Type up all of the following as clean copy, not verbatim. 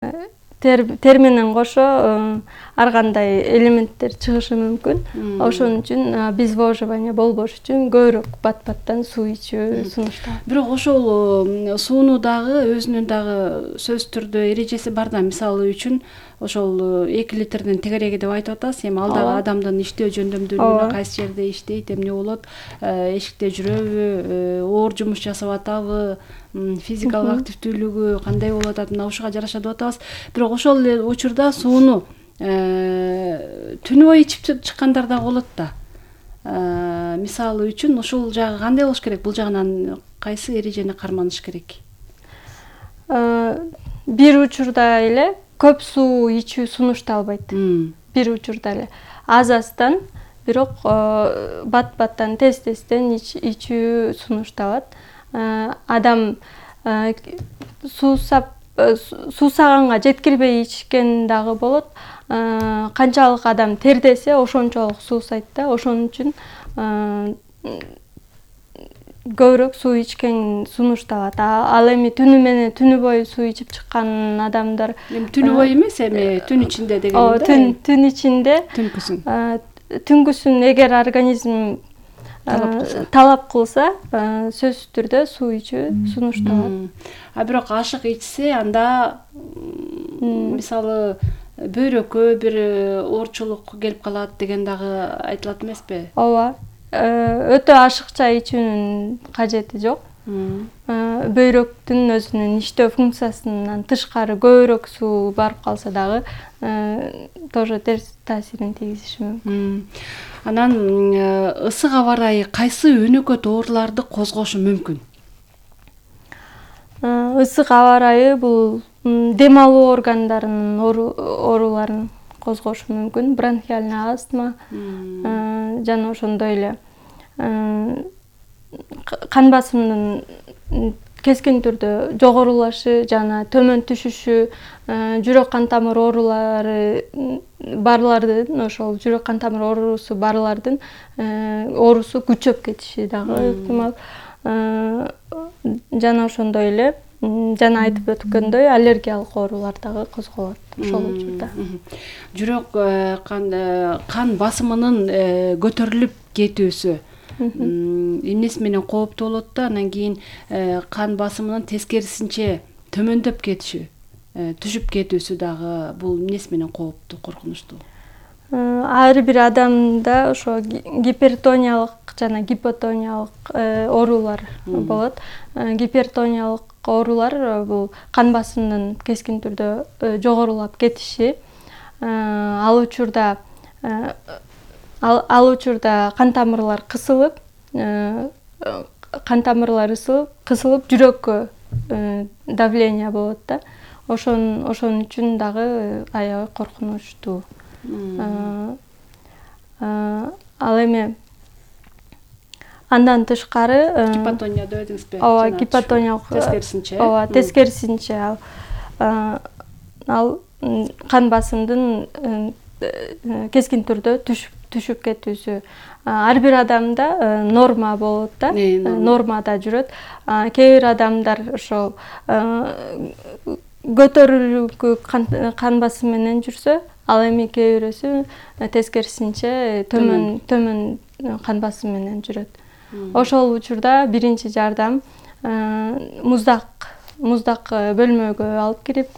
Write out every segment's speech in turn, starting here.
тер менен кошо ар кандай элементтер чыгышы мүмкүн. Ошон үчүн обезвоживание болбош үчүн көбүрөөк бат-баттан суу ичүү сунушталат. Бирок ошол сууну дагы өзүнүн дагы сөзсүз түрдө эрежеси бар да. Мисалы үчүн ошол 2 литрден тегереги деп айтып атасыз. Эми ал дагы адамдын иштөө жөндөмдүүлүгүнө кайсы жерде иштейт, эмне болот, эшикте жүрөбү, оор жумуш жасап атабы, физикалык активдүүлүгү кандай болуп атат, мына ушуга жараша деп атабыз. Бирок ошол эле учурда сууну түнү бою ичип чыккандар да болот да. Мисалы үчүн ушул жагы кандай болуш керек? Бул жагынан кайсы эрежени карманыш керек? Бир учурда эле көп суу ичүү сунушталбайт. Бир учурда эле аз-аздан, бирок бат-баттан, тез-тезден ичүү сунушталат. Адам суусаганга жеткирбей ичкен дагы болот. Канчалык адам тердесе, ошончолук суусайт да. Ошон үчүн көбүрөөк суу ичкен сунушталат. Ал эми түнү бою суу ичип чыккан адамдар, эми түнү бою эмес, эми түн ичинде дегеним да. Түн ичинде. Түнкүсүн эгер организм талап кылса, сөзсүз түрдө суу ичүү сунушталат. Бирок ашык ичсе, анда мисалы бөйрөккө бир оорчулук келип калат деген дагы айтылат эмеспи? Ооба. Өтө ашыкча ичүүнүн кажети жок. Бөйрөктүн өзүнүн иштөө функциясынан тышкары көбүрөөк суу барып калса дагы тоже терс таасирин тийгизиши мүмкүн. Анан ысык аба ырайы кайсы өнөкөт ооруларды козгошу мүмкүн? Ысык аба ырайы бул дем алуу органдарынын ооруларын козгошу мүмкүн. Бронхиальный астма жана ошондой эле кан басымынын кескин түрдө жогорулашы жана төмөн түшүшү, жүрөк кан тамыр оорулары барлардын, ошол жүрөк кан тамыр оорусу барлардын оорусу күчөп кетиши дагы ыктымал. Жана ошондой эле жана айтып өткөндөй аллергиялык оорулар дагы козголот ошол учурда. Жүрөк кан басымынын көтөрүлүп кетүүсү эмнеси менен кооптуу болот да, анан кийин кан басымынын тескерисинче төмөндөп кетиши, түшүп кетүүсү дагы бул эмнеси менен кооптуу, коркунучтуу? Ар бир адамда ошо гипертониялык жана гипотониялык оорулар болот. Гипертониялык оорулар бул кан басымынын кескин түрдө жогорулап кетиши. Ал учурда кан тамырлар кысылып, кысылып жүрөккө давление болот да. Ошон үчүн дагы аябай коркунучтуу. Ал эми андан тышкары гипотония деп эдиңизби? Ооба, гипотониялык тескерисинче. Ооба, тескерисинче ал кан басымдын кескин түрдө түшүп кетүүсү ар бир адамда норма болот да, нормада жүрөт. Кээ бир адамдар ошол көтөрүлүккү кан басым менен жүрсө, ал эми кээ бирөөсү тескерисинче төмөн кан басым менен жүрөт. Ошол учурда биринчи жардам муздак бөлмөгө алып кирип,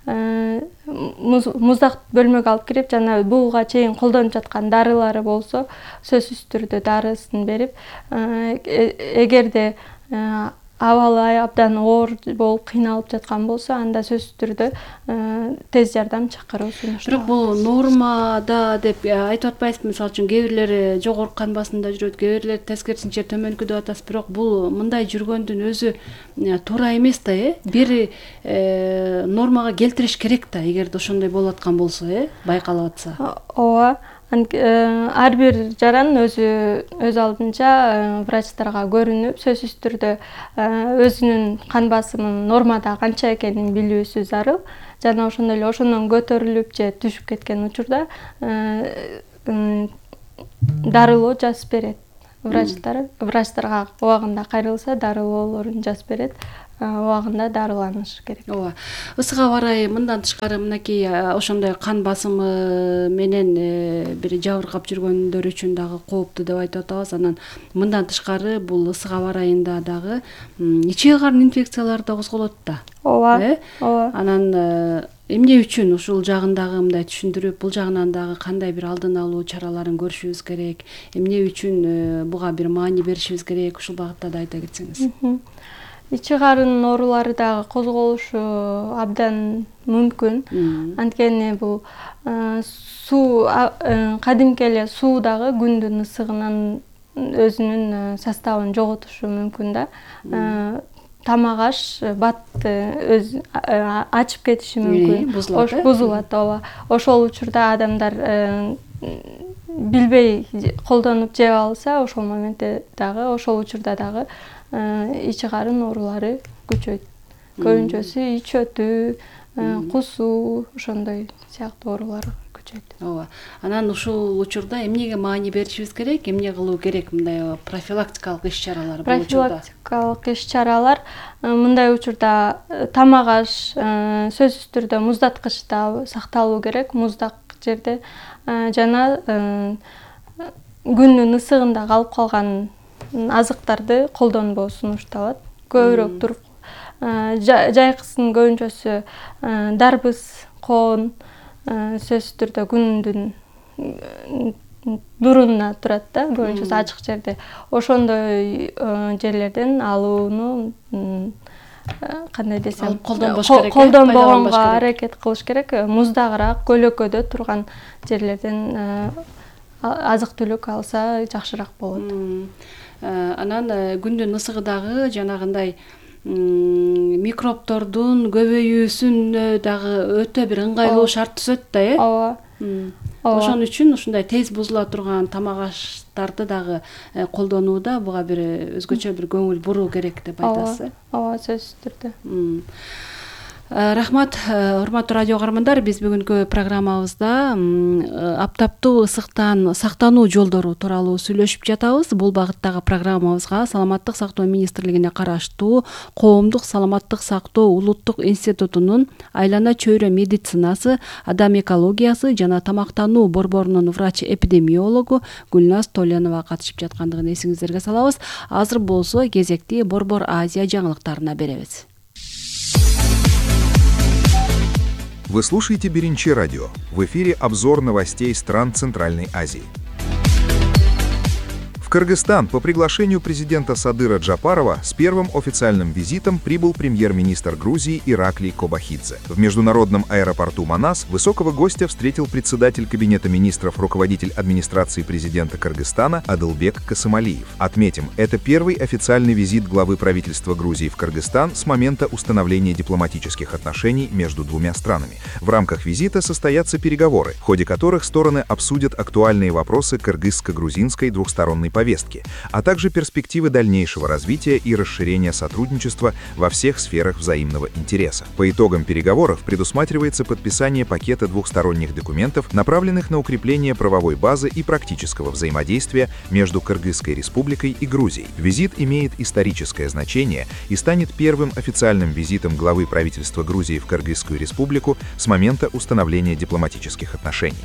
муздак бөлмөгө алып кирип жана буга чейин колдонуп жаткан дарылары болсо, сөзсүз түрдө дарысын берип, эгерде абалы абдан оор болуп кыйналып жаткан болсо, анда сөзсүз түрдө тез жардам чакыруу сунушталат. Бирок бул нормада деп айтып атпайсызбы? Мисалы үчүн кээ бирлери жогорку кан басымда жүрөт, кээ бирлери тескерисинче төмөнкү деп атасыз. Бирок бул мындай жүргөндүн өзү туура эмес да, бир нормага келтириш керек да, эгерде ошондой болуп аткан болсо, байкалып атса. Ооба. Ар бир жаран өз алдынча врачтарга көрүнүп, сөзсүз түрдө өзүнүн кан басымынын нормада канча экенин билүүсү зарыл. Жана ошондой эле ошондон көтөрүлүп же түшүп кеткен учурда дарылоо жазып берет. Врачтарга убагында кайрылса дарылоолорун жазып берет. убагында дарыланыш керек. Ооба. Ысык аба ырайы мындан тышкары мынакей ошондой кан басымы менен бир жабыркап жүргөндөр үчүн дагы кооптуу деп айтып атабыз. Анан мындан тышкары бул ысык аба ырайында дагы ичек карын инфекциялары да козголот да. Ооба. Ооба. Анан эмне үчүн ушул жагын дагы мындай түшүндүрүп, бул жагынан дагы кандай бир алдын алуу чараларын көрүшүбүз керек, эмне үчүн буга бир маани беришибиз керек, ушул багытта да айта кетсеңиз. Ичи карын оорулары дагы козголушу абдан мүмкүн. Анткени бул суу кадимки эле суу дагы күндүн ысыгынан өзүнүн составын жоготушу мүмкүн да. Тамак аш батты ачып кетиши мүмкүн. Бузулат, ооба. Ошол учурда адамдар билбей колдонуп жеп алса, ошол моментте дагы, ошол учурда дагы ичи карын оорулары күчөйт. Көбүнчөсү ич өтүү, кусуу, ошондой сыяктуу оорулар күчөйт. Ооба. Анан ушул учурда эмнеге маани беришибиз керек, эмне кылуу керек мындай профилактикалык иш-чаралар бул учурда? Профилактикалык иш-чаралар мындай учурда тамак аш сөзсүз түрдө муздаткычта сакталуу керек, муздак жерде, жана күндүн ысыгында калып калган азыктарды колдонбоо сунушталат. Көбүрөөк туруп жайкысын көбүнчөсү дарбыз, коон сөзсүз түрдө күндүн нурунда турат да, көбүнчөсү ачык жерде. Ошондой жерлерден алууну кандай десем, колдонбогонго аракет кылыш керек. Муздагыраак, көлөкөдө турган жерлерден азык-түлүк алса жакшыраак болот. Анан күндүн ысыгы дагы жанагындай микробтордун көбөйүүсүнө дагы өтө бир ыңгайлуу шарт түзөт да, Ооба. Ошон үчүн ушундай тез бузула турган тамак аштарды дагы колдонууда буга бир өзгөчө бир көңүл буруу керек деп айтасыз. Ооба, сөзсүз түрдө. Рахмат, урматтуу радио каармандар, биз бүгүнкү программабызда аптаптуу ысыктан сактануу жолдору тууралуу сүйлөшүп жатабыз. Бул багыттагы программабызга Саламаттык сактоо министрлигине караштуу Коомдук саламаттык сактоо улуттук институтунун айлана чөйрө медицинасы, адам экологиясы жана тамактануу борборунун врач-эпидемиологу Гүлназ Толянова катышып жаткандыгын эсиңиздерге салабыз. Азыр болсо кезекти Борбор Азия жаңылыктарына беребиз. Вы слушаете Беренчи радио. В эфире обзор новостей стран Центральной Азии. В Кыргызстан по приглашению президента Садыра Джапарова с первым официальным визитом прибыл премьер-министр Грузии Ираклий Кобахидзе. В международном аэропорту Манас высокого гостя встретил председатель Кабинета министров, руководитель администрации президента Кыргызстана Адылбек Касымалиев. Отметим, это первый официальный визит главы правительства Грузии в Кыргызстан с момента установления дипломатических отношений между двумя странами. В рамках визита состоятся переговоры, в ходе которых стороны обсудят актуальные вопросы кыргызско-грузинской двухсторонней повестки, а также перспективы дальнейшего развития и расширения сотрудничества во всех сферах взаимного интереса. По итогам переговоров предусматривается подписание пакета двухсторонних документов, направленных на укрепление правовой базы и практического взаимодействия между Кыргызской республикой и Грузией. Визит имеет историческое значение и станет первым официальным визитом главы правительства Грузии в Кыргызскую республику с момента установления дипломатических отношений.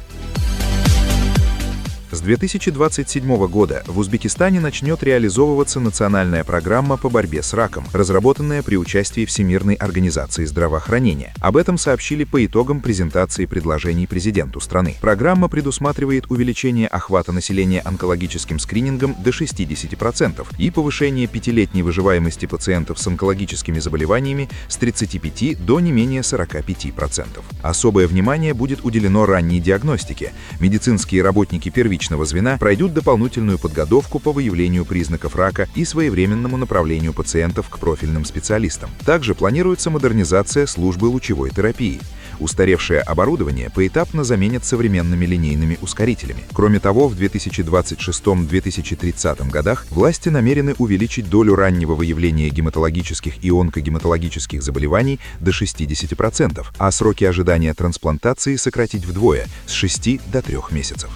С 2027 года в Узбекистане начнет реализовываться национальная программа по борьбе с раком, разработанная при участии Всемирной организации здравоохранения. Об этом сообщили по итогам презентации предложений президенту страны. Программа предусматривает увеличение охвата населения онкологическим скринингом до 60% и повышение пятилетней выживаемости пациентов с онкологическими заболеваниями с 35 до не менее 45%. Особое внимание будет уделено ранней диагностике. Медицинские работники первичного звена пройдут дополнительную подготовку по выявлению признаков рака и своевременному направлению пациентов к профильным специалистам. Также планируется модернизация службы лучевой терапии. Устаревшее оборудование поэтапно заменят современными линейными ускорителями. Кроме того, в 2026-2030 годах власти намерены увеличить долю раннего выявления гематологических и онкогематологических заболеваний до 60%, а сроки ожидания трансплантации сократить вдвое – с 6 до 3 месяцев.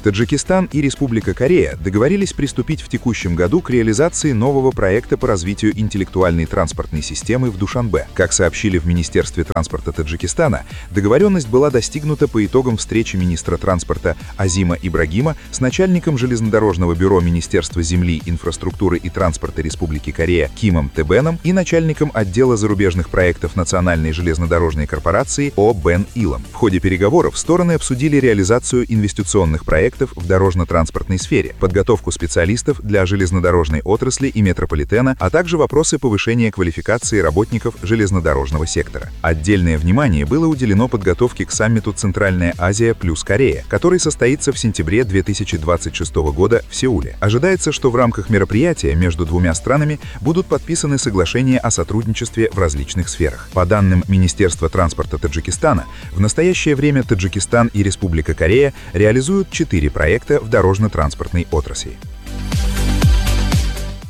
Таджикистан и Республика Корея договорились приступить в текущем году к реализации нового проекта по развитию интеллектуальной транспортной системы в Душанбе. Как сообщили в Министерстве транспорта Таджикистана, договоренность была достигнута по итогам встречи министра транспорта Азима Ибрагима с начальником железнодорожного бюро Министерства земли, инфраструктуры и транспорта Республики Корея Кимом Тебеном и начальником отдела зарубежных проектов Национальной железнодорожной корпорации О Бен Илом. В ходе переговоров стороны обсудили реализацию инвестиционных проектов в дорожно-транспортной сфере, подготовку специалистов для железнодорожной отрасли и метрополитена, а также вопросы повышения квалификации работников железнодорожного сектора. Отдельное внимание было уделено подготовке к саммиту «Центральная Азия плюс Корея», который состоится в сентябре 2026 года в Сеуле. Ожидается, что в рамках мероприятия между двумя странами будут подписаны соглашения о сотрудничестве в различных сферах. По данным Министерства транспорта Таджикистана, в настоящее время Таджикистан и Республика Корея реализуют 4 проекта в дорожно-транспортной отрасли.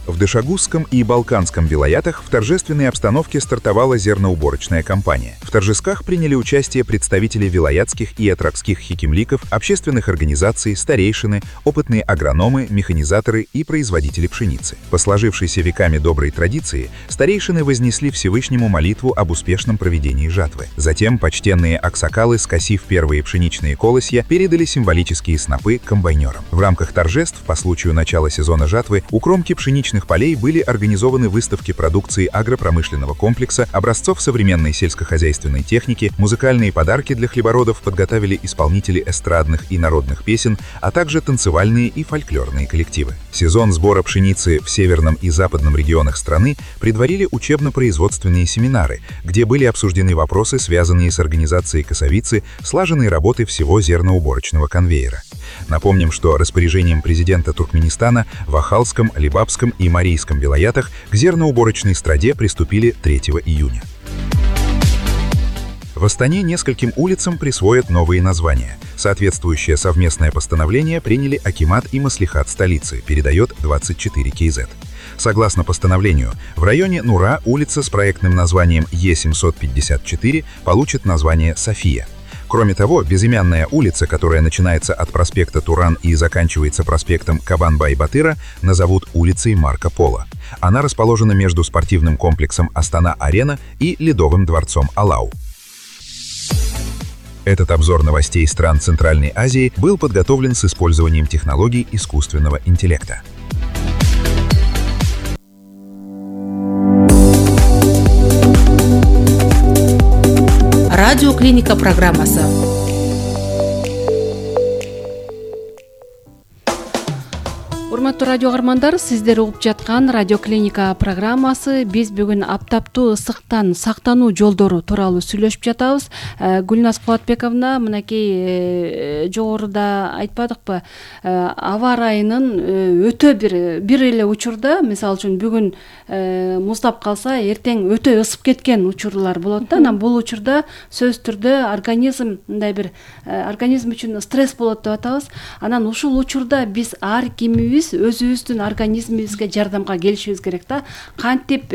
В Дышагузском и Балканском вилаятах в торжественной обстановке стартовала зерноуборочная кампания. В торжествах приняли участие представители вилаятских и атракских хикимликов, общественных организаций, старейшины, опытные агрономы, механизаторы и производители пшеницы. По сложившейся веками доброй традиции, старейшины вознесли Всевышнему молитву об успешном проведении жатвы. Затем почтенные аксакалы, скосив первые пшеничные колосья, передали символические снопы комбайнерам. В рамках торжеств по случаю начала сезона жатвы у кромки пшеничных полей были организованы выставки продукции агропромышленного комплекса, образцов современной сельскохозяйственной техники, музыкальные подарки для хлебородов подготовили исполнители эстрадных и народных песен, а также танцевальные и фольклорные коллективы. Сезон сбора пшеницы в северном и западном регионах страны предварили учебно-производственные семинары, где были обсуждены вопросы, связанные с организацией косовицы, слаженной работы всего зерноуборочного конвейера. Напомним, что распоряжением президента Туркменистана в Ахалском, Либабском и Марийском вилаятах к зерноуборочной страде приступили 3 июня. В Астане нескольким улицам присвоят новые названия. Соответствующее совместное постановление приняли акимат и маслихат столицы, передает 24 КЗ. Согласно постановлению, в районе Нура улица с проектным названием Е754 получит название София. Кроме того, безымянная улица, которая начинается от проспекта Туран и заканчивается проспектом Кабанбай-Батыра, назовут улицей Марко Поло. Она расположена между спортивным комплексом Астана-Арена и Ледовым дворцом Алау. Этот обзор новостей стран Центральной Азии был подготовлен с использованием технологий искусственного интеллекта. Радиоклиника программасы. Урматтуу радио каармандар, сиздер угуп жаткан Радиоклиника программасы. Биз бүгүн аптаптуу ысыктан сактануу жолдору тууралуу сүйлөшүп жатабыз. Гүлназ Кубатбековна, мынакей жогоруда айтпадыкпы, аба ырайынын өтө бир эле учурда, мисалы үчүн бүгүн муздап калса, эртең өтө ысып кеткен учурлар болот да. Анан бул учурда сөзсүз түрдө организм мындай бир организм үчүн стресс болот деп атабыз. Анан ушул учурда биз ар кимибиз өзүбүздүн организмибизге жардамга келишибиз керек да. Кантип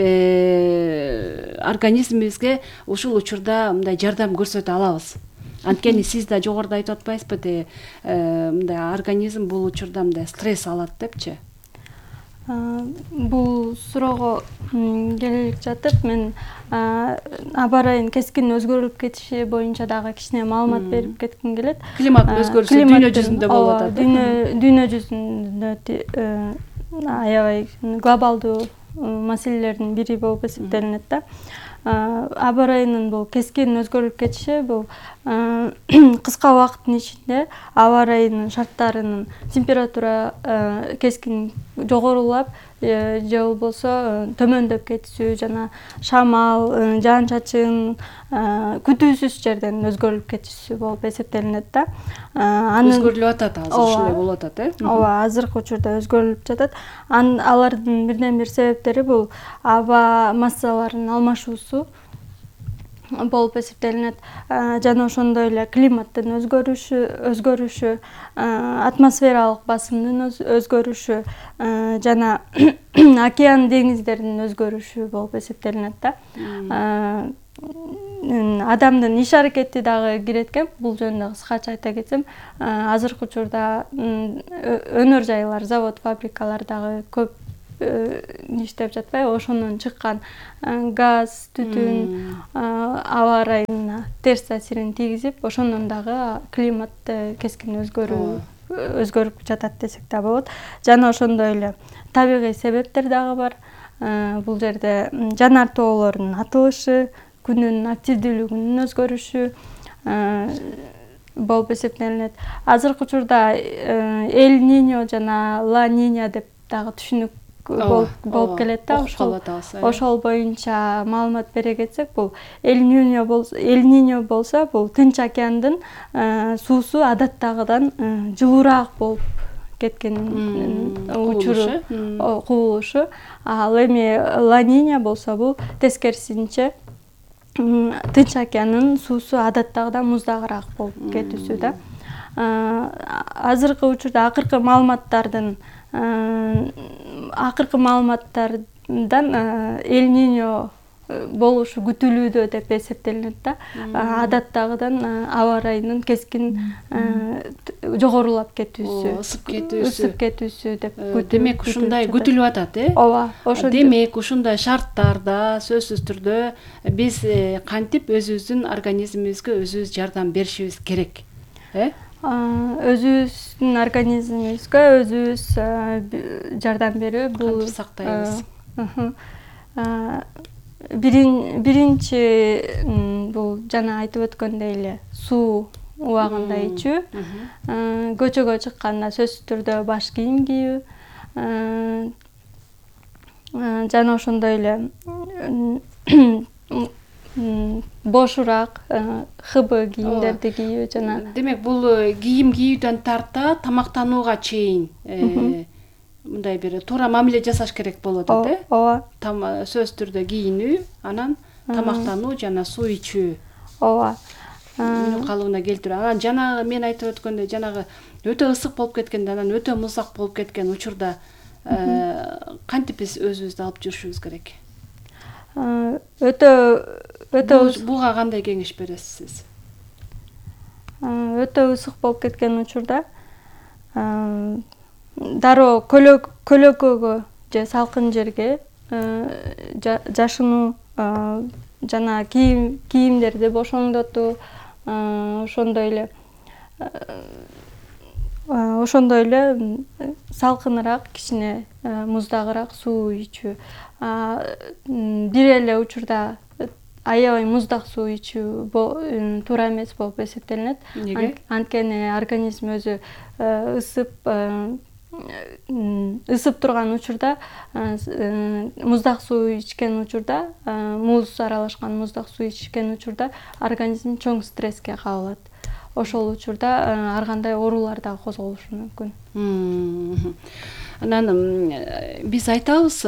организмибизге ушул учурда мындай жардам көрсөтө алабыз? Анткени сиз да жогоруда айтып атпайсызбы, мындай организм бул учурда мындай стресс алат депчи? Бул суроого келе жатып, мен аба ырайынын кескин өзгөрүлүп кетиши боюнча дагы кичине маалымат берип кетким келет. Климат өзгөрүшү дүйнө жүзүндө болуп атат. Дүйнө жүзүндө аябай глобалдуу маселелердин бири болуп эсептелинет да. Аба ырайынын бул кескин өзгөрүлүп кетиши бул кыска убакыттын ичинде аба ырайынын шарттарынын температура кескин жогорулап же болбосо төмөндөп кетиши жана шамал, жаан-чачын күтүүсүз жерден өзгөрүлүп кетиши болуп эсептелинет да. Өзгөрүлүп атат, азыр ушулай болуп атат, Ооба, азыркы учурда өзгөрүлүп жатат. Алардын бирден бир себептери бул аба массаларынын алмашуусу болуп эсептелинет. Жана ошондой эле климаттын өзгөрүшү, атмосфералык басымдын өзгөрүшү жана океан деңиздердин өзгөрүшү болуп эсептелинет да. адамдын иш аракети дагы кирет экен. Бул жөнүндө кыскача айта кетсем, азыркы учурда өнөр жайлар, завод, фабрикалар дагы көп иштеп жатпайбы? Ошондон чыккан газ, түтүн аба ырайына терс таасирин тийгизип, ошондон дагы климат кескин өзгөрүп жатат десек да болот. Жана ошондой эле табигый себептер дагы бар. Бул жерде жанар тоолордун атылышы, күнүн активдүүлүгүнүн өзгөрүшү болуп эсептелинет. Азыркы учурда Эль Ниньо жана Ла Нинья деп дагы түшүнүк болуп келет да. Ошол боюнча маалымат бере кетсек, бул Эль Ниньо болсо, бул Тынч океандын суусу адаттагыдан жылуураак болуп кеткен учуру, кубулушу. Ал эми Ла Нинья болсо, бул тескерисинче Тынч океандын суусу адаттагыдан муздагыраак болуп кетүүсү да. Азыркы учурда акыркы маалыматтардан Эль Ниньо болушу күтүлүүдө деп эсептелинет да. Адаттагыдан аба ырайынын кескин жогорулап кетүүсү, ысып кетүүсү деп демек ушундай күтүлүп атат, Ооба, ошо. Демек ушундай шарттарда сөзсүз түрдө биз кантип өзүбүздүн организмибизге өзүбүз жардам беришибиз керек, Өзүбүздүн организмибизге өзүбүз жардам берүү, бул сактайбыз. Биринчи бул жана айтып өткөндөй эле суу убагында ичүү, көчөгө чыкканда сөзсүз түрдө баш кийим кийүү, жана ошондой эле бошураак ХБ кийимдерди кийүү жана. Демек бул кийим кийүүдөн тарта тамактанууга чейин мындай бир туура мамиле жасаш керек болуп атат, Ооба. Сөзсүз түрдө кийинүү, анан тамактануу жана суу ичүү. Ооба. Калыбына келтирүү. Анан жанагы мен айтып өткөндөй, жанагы өтө ысык болуп кеткенде, анан өтө муздак болуп кеткен учурда кантип биз өзүбүздү алып жүрүшүбүз керек? Буга кандай кеңеш бересиз? Өтө ысык болуп кеткен учурда дароо көлөкөгө же салкын жерге жашынуу, жана кийимдерди бошоңдотуу, ошондой эле салкыныраак, кичине муздагыраак суу ичүү. Бир эле учурда аябай муздак суу ичүү туура эмес болуп эсептелинет. Анткени организм өзү ысып турган учурда, муздак суу ичкен учурда, муз аралашкан муздак суу ичкен учурда организм чоң стресске кабылат. Ошол учурда ар кандай оорулар дагы козголушу мүмкүн. Анан биз айтабыз,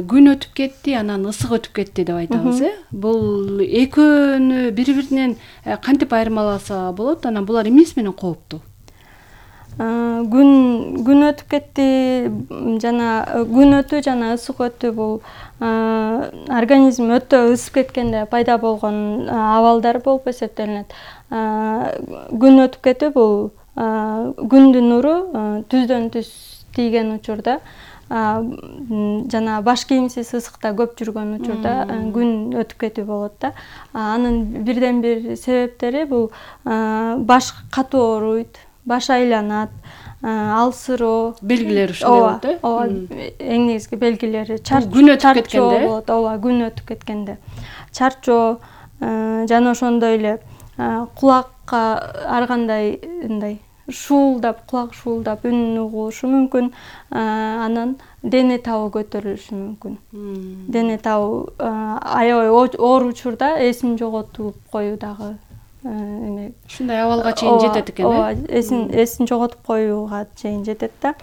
күн өтүп кетти, анан ысык өтүп кетти деп айтабыз, Бул экөөнү бири-биринен кантип айырмаласа болот? Анан булар эмнеси менен кооптуу? Күн өтүп кетти жана күн өтүү жана ысык өтүү бул организм өтө ысып кеткенде пайда болгон абалдар болуп эсептелинет. Күн өтүп кетүү бул күндүн нуру түздөн түз тийген учурда, жана баш кийимсиз ысыкта көп жүргөн учурда күн өтүп кетүү болот да. Анын бирден бир себептери бул баш катуу ооруйт, баш айланат, алсыроо. Белгилери ушундай болот, Ооба, эң негизги белгилери күн өтүп кеткенде болот. Ооба, күн өтүп кеткенде. Чарчоо, жана ошондой эле кулакка ар кандай кулак шуулдап үн угулушу мүмкүн. Анан дене табы көтөрүлүшү мүмкүн. Дене табы аябай оор учурда эсин жоготуп коюу дагы ушундай абалга чейин жетет экен, Ооба, эсин жоготуп коюуга чейин жетет да.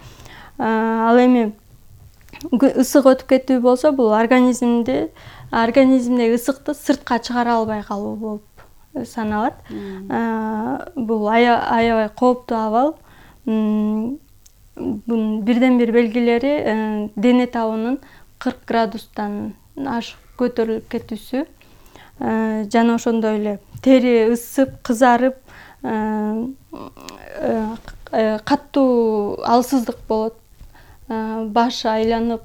Ал эми ысык өтүп кетүү болсо, бул организмдеги ысыкты сыртка чыгара албай калуу болуп саналат. Бул аябай кооптуу абал. Бирден бир белгилери дене табынын 40 градустан ашык көтөрүлүп кетүүсү. жана ошондой эле тери ысып, кызарып, катуу алсыздык болот. Баш айланып,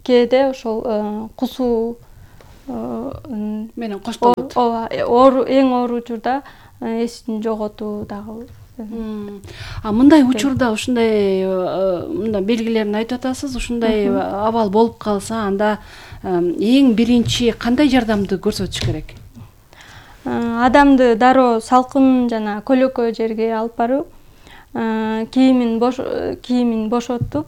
кээде ошол кусуу менен коштолот. Ооба, эң оор учурда эсин жоготуу дагы. Мындай учурда ушундай мындай белгилерин айтып атасыз. Ушундай абал болуп калса, анда эң биринчи кандай жардамды көрсөтүш керек? Адамды дароо салкын жана көлөкө жерге алып барып, кийимин бошотуп,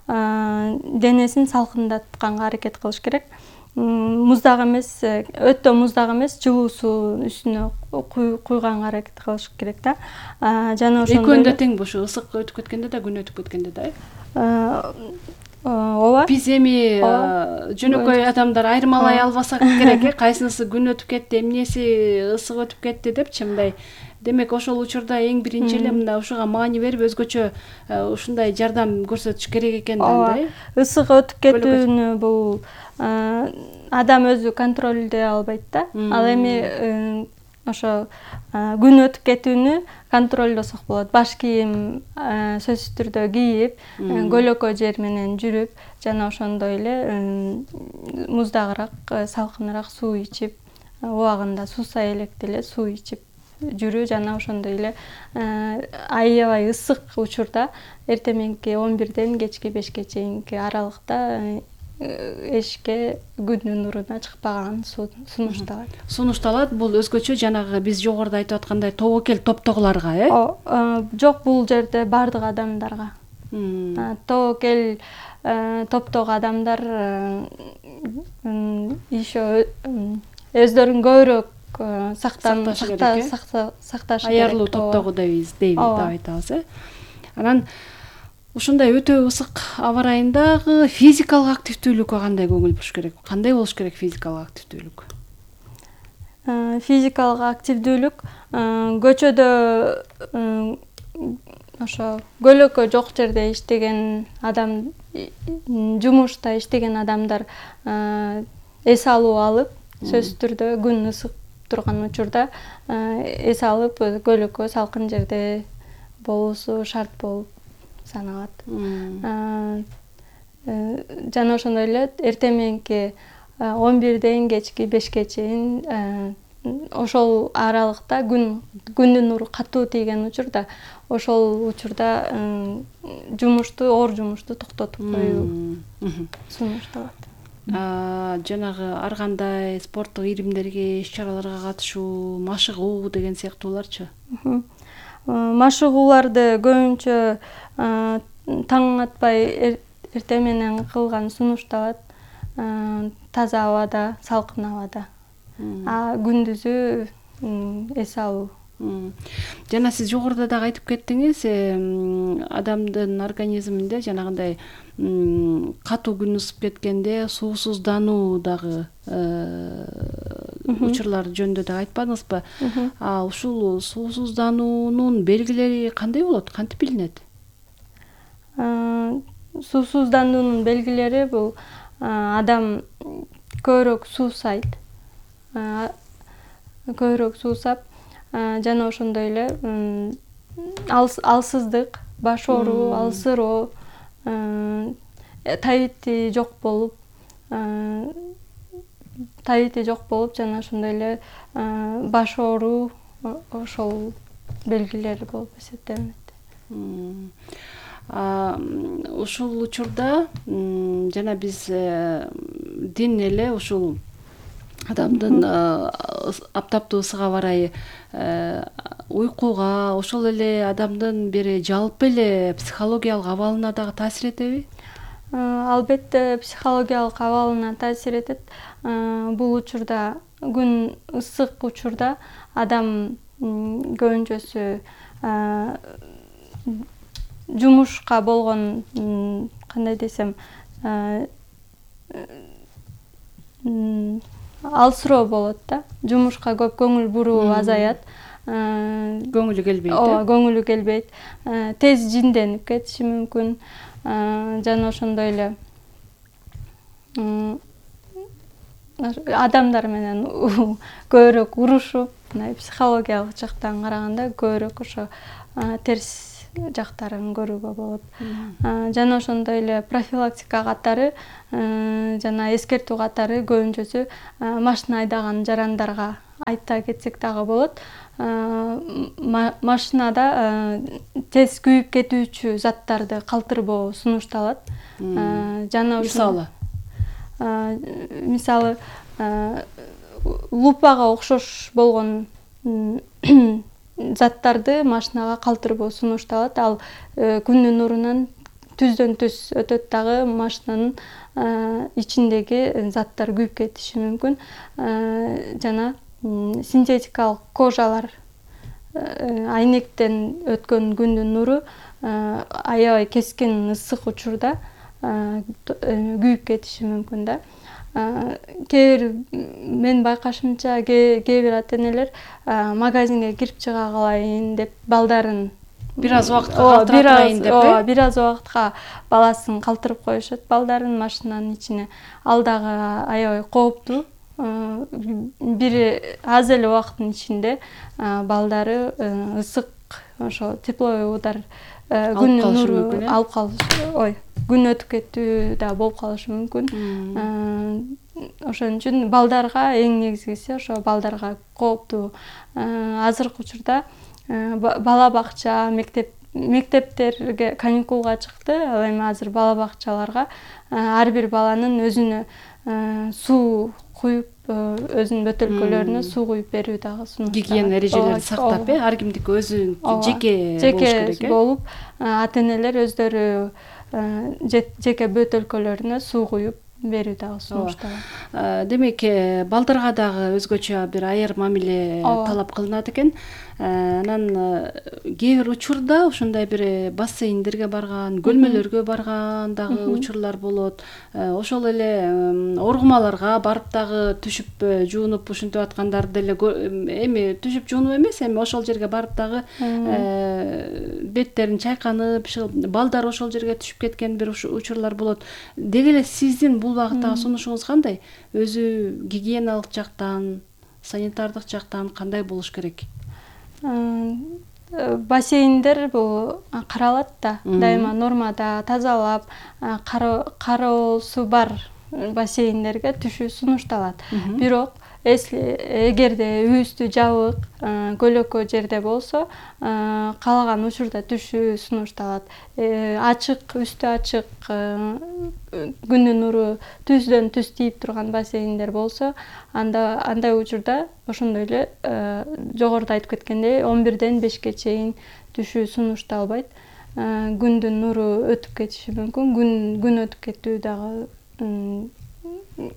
денесин салкындатканга аракет кылыш керек. Муздак эмес, өтө муздак эмес, жылуу суу үстүнө куйганга аракет кылыш керек да. Жана ошондой экөөнү да тең бошу, ысык өтүп кеткенде да, күн өтүп кеткенде да. Ооба. Биз эми жөнөкөй адамдар айырмалай албасак керек, кайсынысы күн өтүп кетти, эмнеси ысык өтүп кетти депчи, мындай. Демек ошол учурда эң биринчи эле мындай ушуга маани берип, өзгөчө ушундай жардам көрсөтүш керек экен да, андай. Ысык өтүп кетүүнү бул адам өзү контролдой албайт да. Ал эми ошо күн өтүп кетүүнү контролдосок болот. Баш кийим сөзсүз түрдө кийип, көлөкө жер менен жүрүп, жана ошондой эле муздагыраак, салкыныраак суу ичип, убагында суусай электе эле суу ичип жүрүү, жана ошондой эле аябай ысык учурда эртең мененки 11ден кечки 5ке чейинки аралыкта эшикке күндүн нуруна чыкпаган сунушталат. Бул өзгөчө жанагы биз жогоруда айтып аткандай тобокел топтогуларга, Жок, бул жерде бардык адамдарга. Тобокел топтогу адамдар еще өздөрүн көбүрөөк сакташ керек. Аярлуу топтогу дейбиз деп айтабыз. Анан ушундай өтө ысык аба ырайындагы физикалык активдүүлүккө кандай көңүл буруш керек? Кандай болуш керек физикалык активдүүлүк? Физикалык активдүүлүк көчөдө ошо көлөкө жок жерде иштеген адам, жумушта иштеген адамдар эс алуу алып, сөзсүз түрдө күн ысык турган учурда эс алып, көлөкө салкын жерде болуусу шарт болуп саналат. Жана ошондой эле эртең мененки 11ден кечки 5ке чейин ошол аралыкта күндүн нуру катуу тийген учурда, ошол учурда оор жумушту токтотуп коюу сунушталат. Жанагы ар кандай спорттук ийримдерге, иш-чараларга катышуу, машыгуу деген сыяктууларчы? Машыгууларды көбүнчө таң атпай эртең менен кылган сунушталат. Таза абада, салкын абада. Күндүзү эс алуу. Жана сиз жогоруда дагы айтып кеттиңиз, адамдын организминде жанагындай катуу күн ысып кеткенде суусуздануу дагы учурлар жөнүндө дагы айтпадыңызбы? Ушул суусуздануунун белгилери кандай болот? Кантип билинет? Суусуздануунун белгилери бул адам көбүрөөк суусайт. Көбүрөөк суусап, жана ошондой эле алсыздык, баш ооруу, алсыроо, табити жок болуп, жана ошондой эле баш ооруу, ошол белгилери болуп эсептелинет. Ушул учурда жана биз дин эле ушул адамдын аптаптуу ысык аба ырайы уйкуга, ошол эле адамдын бир жалпы эле психологиялык абалына дагы таасир этеби? Албетте психологиялык абалына таасир этет. Бул учурда, күн ысык учурда адам көбүнчөсү жумушка болгон, кандай десем, алсыроо болот да. Жумушка көп көңүл буруу азаят. Көңүлү келбейт. Ооба, көңүлү келбейт. Тез жинденип кетиши мүмкүн. Жана ошондой эле адамдар менен көбүрөөк урушуп, мындай психологиялык жактан караганда көбүрөөк ошо терс жактарын көрүүгө болот. Жана ошондой эле профилактика катары жана эскертүү катары көбүнчөсү машина айдаган жарандарга айта кетсек дагы болот. Машинада тез күйүп кетүүчү заттарды калтырбоо сунушталат. Жана мисалы лупага окшош болгон заттарды машинага калтырбоо сунушталат. Ал күндүн нурунан түздөн түз өтөт дагы машинанын ичиндеги заттар күйүп кетиши мүмкүн. Жана синтетикалык кожалар, айнектен өткөн күндүн нуру аябай кескин ысык учурда күйүп кетиши мүмкүн да. Мен байкашымча кээ бир ата-энелер магазинге кирип чыга калайын деп балдарын бир аз убакытка калтырайын деп, бир аз убакытка баласын калтырып коюшат, балдарын машинанын ичине. Ал дагы аябай кооптуу. Бир аз эле убакыттын ичинде балдары ысык, ошо тепловой удар, күндүн нуру алып калышы, күн өтүп кетүү да болуп калышы мүмкүн. Ошон үчүн балдарга эң негизгиси ошо балдарга кооптуу. Азыркы учурда бала бакча, мектептерге каникулга чыкты. Ал эми азыр бала бакчаларга ар бир баланын өзүнө суу куюп, өзүнүн бөтөлкөлөрүнө суу куюп берүү дагы сунушталат. Гигиена эрежелерин сактап, ар кимдики өзүнүн жеке болуп, ата-энелер өздөрү жеке бөтөлкөлөрүнө суу куюп берүү дагы сунушталат. Демек, балдарга дагы өзгөчө бир айыр мамиле талап кылынат экен. Анан кээ бир учурда ушундай бир бассейндерге барган, көлмөлөргө барган дагы учурлар болот. Ошол эле оргумаларга барып дагы түшүп жуунуп ушинтип аткандар деле эми түшүп жуунуп эмес, эми ошол жерге барып дагы беттерин чайканып, балдар ошол жерге түшүп кеткен бир учурлар болот. Деги эле сиздин бул багыттагы сунушуңуз кандай? Өзү гигиеналык жактан, санитардык жактан кандай болуш керек? Бассейндер бул каралат да, дайыма нормада тазалап, кароосу бар бассейндерге түшүү сунушталат. Бирок эгерде үйүстү жабык, көлөкө жерде болсо, каалаган учурда түшүү сунушталат. Ачык, үстү ачык, күндүн нуру түздөн түз тийип турган бассейндер болсо, андай учурда ошондой эле жогоруда айтып кеткендей 11-ден 5-ке чейин түшүү сунушталбайт. Күндүн нуру өтүп кетиши мүмкүн, күн өтүп кетүү дагы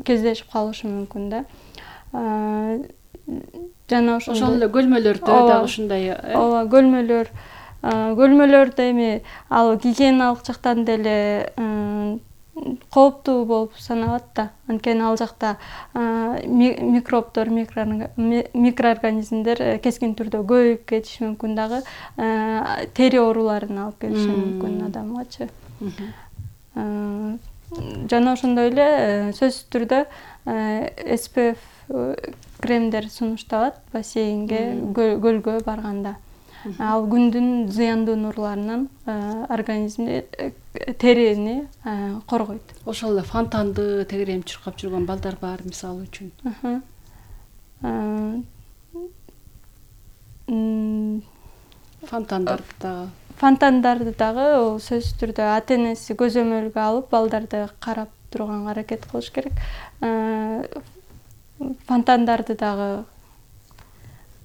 кездешип калышы мүмкүн да. Жана ошол эле көлмөлөрдө дагы ушундай. Ооба, көлмөлөрдө эми ал гигиеналык жактан деле кооптуу болуп саналат да. Анткени ал жакта микробдор, микроорганизмдер кескин түрдө көбөйүп кетиши мүмкүн дагы, тери ооруларын алып келиши мүмкүн адамгачы. Жана ошондой эле сөзсүз түрдө SPF кремдер сунушталат бассейнге, көлгө барганда. Ал күндүн зыяндуу нурларынан организмди, терини коргойт. Ошол эле фонтанды тегеренип чуркап жүргөн балдар бар, мисалы үчүн. Фонтандарды дагы сөзсүз түрдө ата-энеси көзөмөлгө алып, балдарды карап турганга аракет кылыш керек. Фонтандарды дагы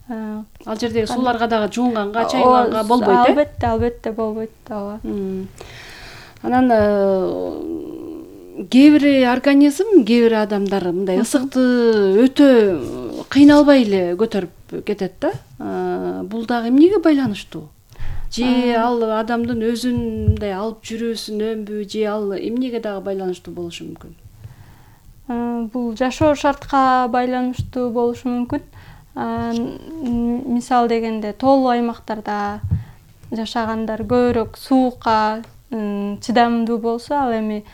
ал жердеги сууларга дагы жуунганга, чайганга болбойт, албетте болбойт. Ооба. Анан кээ бир организм, кээ бир адамдар мындай ысыкты өтө кыйналбай эле көтөрүп кетет да. Бул дагы эмнеге байланыштуу? Же ал адамдын өзүн мындай алып жүрүүсүнөнбү, же ал эмнеге дагы байланыштуу болушу мүмкүн? Бул жашоо шартка байланыштуу болушу мүмкүн. Мисал дегенде тоолуу аймактарда жашагандар көбүрөөк суукка чыдамдуу болсо, ал эми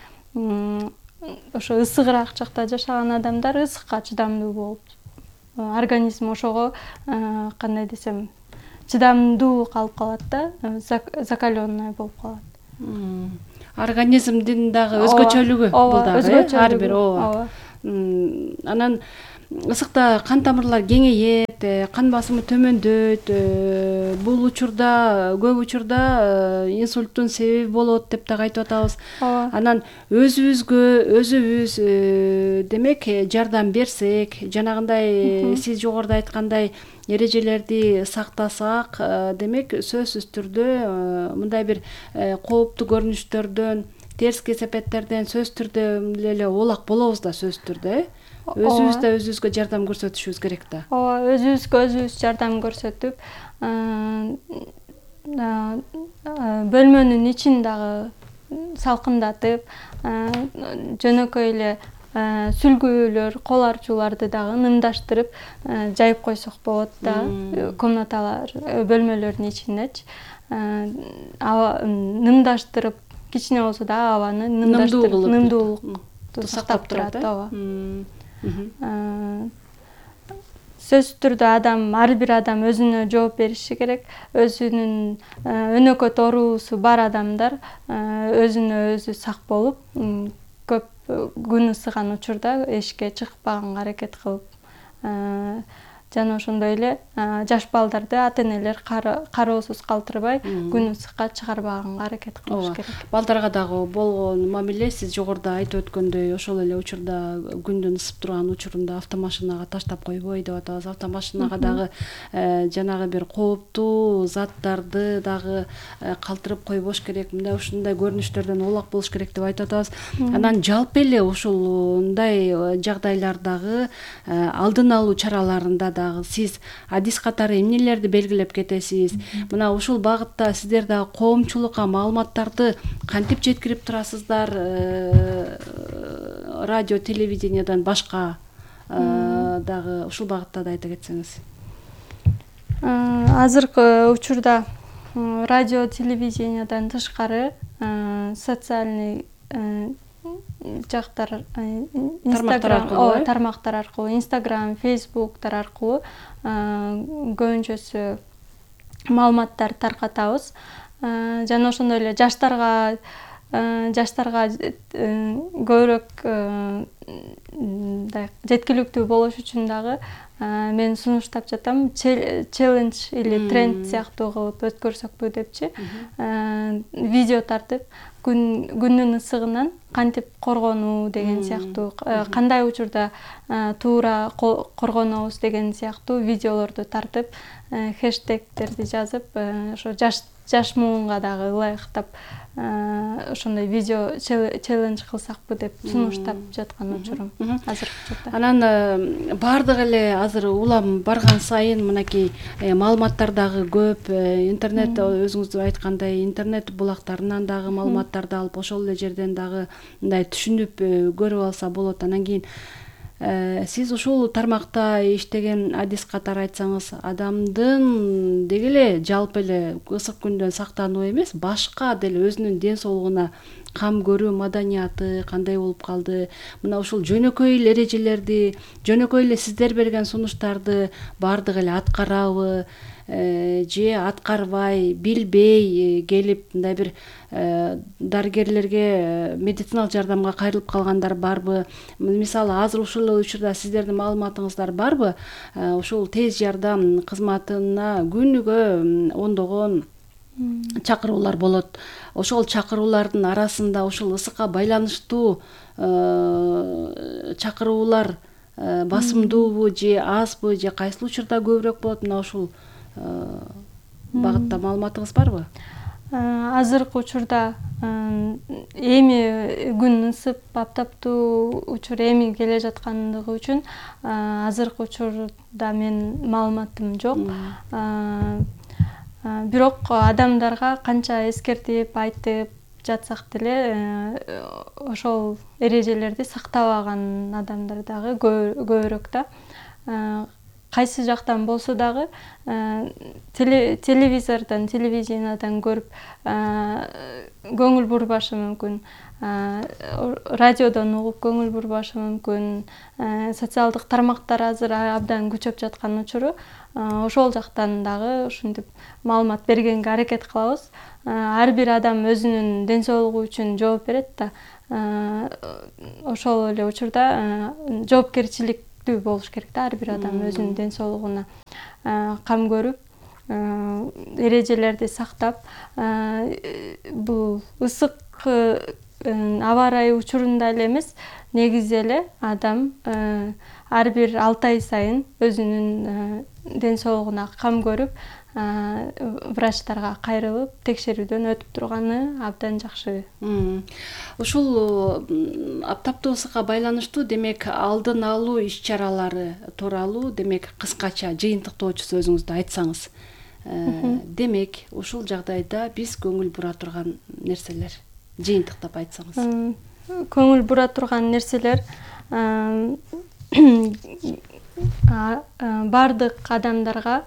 ошо ысыгыраак жакта жашаган адамдар ысыкка чыдамдуу болуп, организм ошого кандай десем чыдамдуу калып калат да, закаленный болуп калат. Организмдин дагы өзгөчөлүгү бул дагы ар бир. Ооба. Анан ысыкта кан тамырлар кеңейет, кан басымы төмөндөйт, бул учурда көп учурда инсульттун себеби болот деп дагы айтып атабыз. Анан өзүбүз демек жардам берсек, жанагындай сиз жогоруда айткандай эрежелерди сактасак, демек сөзсүз түрдө мындай бир кооптуу көрүнүштөрдөн, терс кесепеттерден сөзсүз түрдө эле улак болобуз да, сөзсүз түрдө. Өзүбүз да өзүбүзгө жардам көрсөтүшүбүз керек да. Ооба, өзүбүзгө өзүбүз жардам көрсөтүп, бөлмөнүн ичин дагы салкындатып, жөнөкөй эле сүлгүлөр, кол арчууларды дагы нымдаштырып жайып койсок болот да, комнаталар, бөлмөлөрдүн ичиндечи. Нымдаштырып, кичине болсо да абаны нымдаштырып, нымдуулукту сактап турат. Ооба. Сөзсүз түрдө ар бир адам өзүнө жооп бериши керек. Өзүнүн өнөкөт оорусу бар адамдар өзүнө өзү сак болуп, көп күн ысыган учурда эшикке чыкпаганга аракет кылып, жана ошондой эле жаш балдарды ата-энелер кароосуз калтырбай күн ысыкка чыгарбаганга аракет кылыш керек. Балдарга дагы болгон мамиле сиз жогоруда айтып өткөндөй ошол эле учурда күндүн ысып турган учурунда автомашинага таштап койбой деп атабыз. Автомашинага дагы жанагы бир кооптуу заттарды дагы калтырып койбош керек. Мындай ушундай көрүнүштөрдөн улак болуш керек деп айтып атабыз. Анан жалпы эле ушундай жагдайлардагы алдын алуу чараларында дагы сиз адис катары эмнелерди белгилеп кетесиз? Мына ушул багытта сиздер дагы коомчулукка маалыматтарды кантип жеткирип турасыздар? Радио, телевидениядан башка дагы ушул багытта да айта кетсеңиз. Азыркы учурда радио, телевидениядан тышкары социальный жактар, тармактар аркылуу, Instagram, Facebooктар аркылуу көбүнчөсү маалыматтар таркатабыз. Жана ошондой эле жаштарга көбүрөөк жеткиликтүү болуш үчүн дагы мен сунуштап жатам, челлендж или тренд сыяктуу кылып өткөрсөкпү депчи. Видео тартып, күндүн ысыгынан кантип коргонуу деген сыяктуу, кандай учурда туура коргонобуз деген сыяктуу видеолорду тартып, хэштегтерди жазып, ошо жаш муунга дагы ылайыктап ошондой видео челлендж кылсакпы деп сунуштап жаткан учурум азыркы учурда. Анан баардык эле азыр улам барган сайын мынакей маалыматтар дагы көп, интернет, өзүңүз айткандай, интернет булактарынан дагы маалыматтарды алып, ошол эле жерден дагы мындай түшүнүп көрүп алса болот. Анан кийин сиз ушул тармакта иштеген адис катары айтсаңыз, адамдын деги эле жалпы эле ысык күндөн сактануу эмес, башка деле өзүнүн ден соолугуна кам көрүү маданияты кандай болуп калды? Мына ушул жөнөкөй эле эрежелерди, жөнөкөй эле сиздер берген сунуштарды баардык эле аткарабы же аткарбай, билбей келип мындай бир дарыгерлерге медициналык жардамга кайрылып калгандар барбы? Мисалы, азыр ушул учурда сиздердин маалыматыңыздар барбы? Ушул тез жардам кызматына күнүгө ондогон чакыруулар болот. Ошол чакыруулардын арасында ушул ысыкка байланыштуу чакыруулар басымдуубу же азбы, же кайсыл учурда көбүрөөк болот? Мына ушул багытта маалыматыңыз барбы? Азыркы учурда эми күн ысып, аптаптуу учур эми келе жаткандыгы үчүн азыркы учурда мен маалыматым жок. Бирок адамдарга канча эскертип, айтып жатсак деле, ошол эрежелерди сактабаган адамдар дагы көбүрөөк да. кайсы жактан болсо дагы телевизордон, телевидениедан көрүп көңүл бурбашы мүмкүн, радиодон угуп көңүл бурбашы мүмкүн, социалдык тармактар азыр абдан күчөп жаткан учуру ошол жактан дагы ушинтип маалымат бергенге аракет кылабыз. Ар бир адам өзүнүн ден соолугу үчүн жооп берет да, ошол эле учурда жоопкерчиликтүү болуш керек да, ар бир адам өзүнүн ден соолугуна кам көрүп, эрежелерди сактап, бул ысык аба ырайы учурунда эле эмес, негизи эле адам ар бир 6 ай сайын өзүнүн ден соолугуна кам көрүп, врачтарга кайрылып текшерүүдөн өтүп турганы абдан жакшы. Ушул аптаптуу ысыкка байланыштуу демек алдын алуу иш-чаралары тууралуу демек кыскача жыйынтыктоочу сөзүңүздү айтсаңыз. Демек ушул жагдайда биз көңүл бура турган нерселер жыйынтыктап айтсаңыз. Көңүл бура турган нерселер бардык адамдарга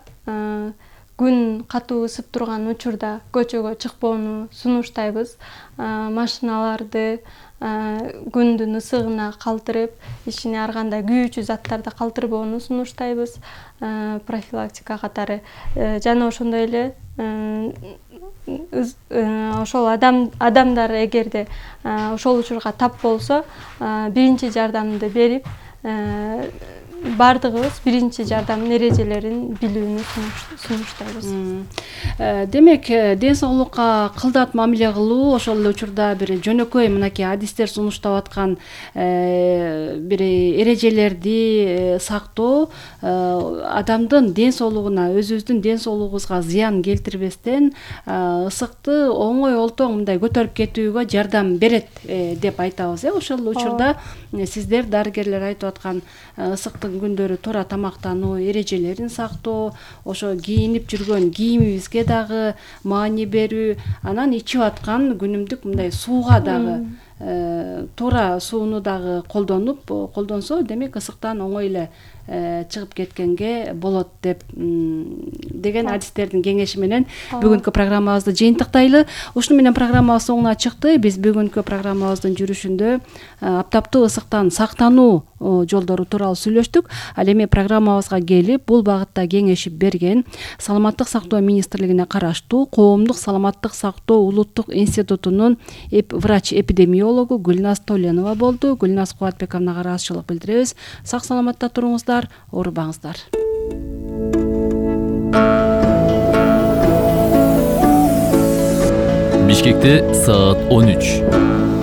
күн катуу ысып турган учурда көчөгө чыкпоону сунуштайбыз. Машиналарды күндүн ысыгына калтырып, ичине ар кандай күйүүчү заттарды калтырбоону сунуштайбыз. Профилактика катары жана ошондой эле ошол адамдар эгерде ошол учурга тап болсо, биринчи жардамды берип, бардыгыбыз биринчи жардамдын эрежелерин билүүнү сунуштайбыз. Демек, ден соолукка кылдат мамиле кылуу ошол эле учурда бир жөнөкөй мынакей адистер сунуштап аткан бир эрежелерди сактоо адамдын ден соолугуна, өзүбүздүн ден соолугубузга зыян келтирбестен ысыкты оңой олтоң мындай көтөрүп кетүүгө жардам берет деп айтабыз. Ошол учурда сиздер дарыгерлер айтып аткан ысыктын күндөрү туура тамактануу эрежелерин сактоо, ошо кийинип жүргөн кийимибизге дагы маани берүү, анан ичип аткан күнүмдүк мындай сууга дагы туура сууну дагы колдонсо, демек ысыктан оңой эле чыгып кеткенге болот деген адистердин кеңеши менен бүгүнкү программабызды жыйынтыктайлы. Ушуну менен программабыз соңуна чыкты. Биз бүгүнкү программабыздын жүрүшүндө аптаптуу ысыктан сактануу жолдору тууралуу сүйлөштүк. Ал эми программабызга келип, бул багытта кеңешип берген Саламаттык сактоо министрлигине караштуу Коомдук саламаттык сактоо улуттук институтунун врач-эпидемиологу Гүлназ Толенова болду. Гүлназ Кубатбековнага ыраазычылык билдиребиз. Сак саламатта туруңуздар, оорубаңыздар. Бишкекте саат 13.